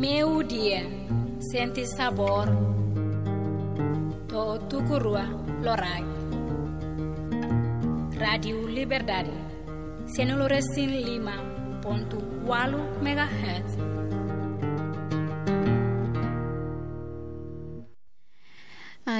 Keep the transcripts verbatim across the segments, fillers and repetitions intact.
Meiudia, sente sabór. To'o tuku rua loraik. Rádiu Liberdade, sianulu resin lima pontu ualu megahertz.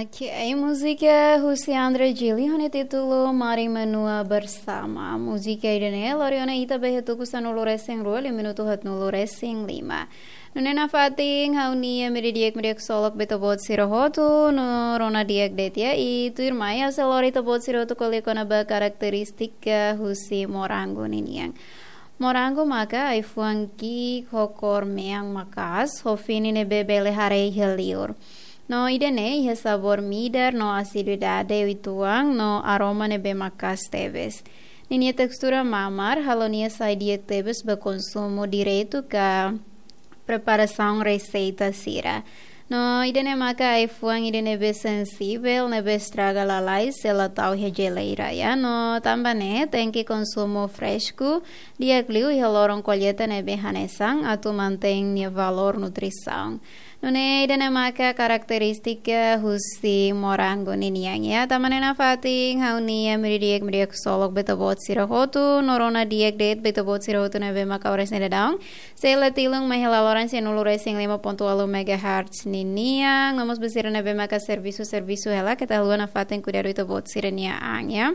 Oke, múzika husi André Gili ho nia títulu Mari Menua Bersama. Múzika ida-ne'e lori ona ita ba iha tuku sanulu resin rua, liu minutu haatnulu resin lima. Nune'e nafatin ha'u-nia media di'ak, media ksolok ba ita-boot sira hotu, no rona di'ak de'it ya, i tuirmai ha'u sei lori ita-boot sira hotu ko'alia kona-ba karakterístika husi morangu ninian. Morangu maka ai-fuan ki'ik ho kór mean maka'as, ho fini ne'ebé bele haree iha liur. No ida-ne'e iha sabór midar no asiduidade uitoan no aroma ne'ebé maka'as tebes. Ninia testura mamar halo nia sai di'ak tebes ba konsumu diretu ka preparasaun reseita sira. No ida-ne'e maka ai-fuan ida ne'ebé sensivel, ne'ebé estraga lalais se la tau iha jeleira ya. No tanba ne'e tenke konsumu fresku di'ak liu iha loron kolleita ne'ebé hanesan atu mantein nia valór nutrisaun. Nune'e ida-ne'e maka karakterístika husi morangu ninian ya. Tanba ne'e nafatin ha'u-nia media di'ak, media ksolok ba ita-boot sira hotu, no rona di'ak de'it ba ita-boot sira hotu ne'ebé maka oras ne'e daudaun sei la tilun mai iha laloran sianulu resin lima pontu ualu megahertz ninian. No mós ba sira ne'ebé maka servisu, servisu hela, keta haluha nafatin kuidadu ita-boot sira-nia an ya.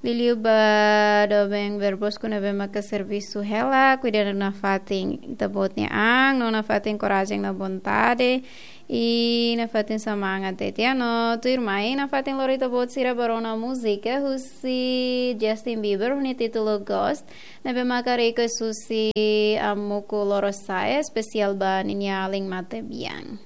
Liuliu ba doben Verbosku ne'ebé maka servisu hela, kuidadu nafatin ita-boot nia an, no nafatin korajen no vontade, i nafatin semangat de'it ya. No tuirmai nafatin lori ita-boot sira ba rona múzika husi Justin Bieber ho nia títulu Ghost, ne'ebé maka request husi Amuku Lorosa'e, espesiál ba ninia alin matebian.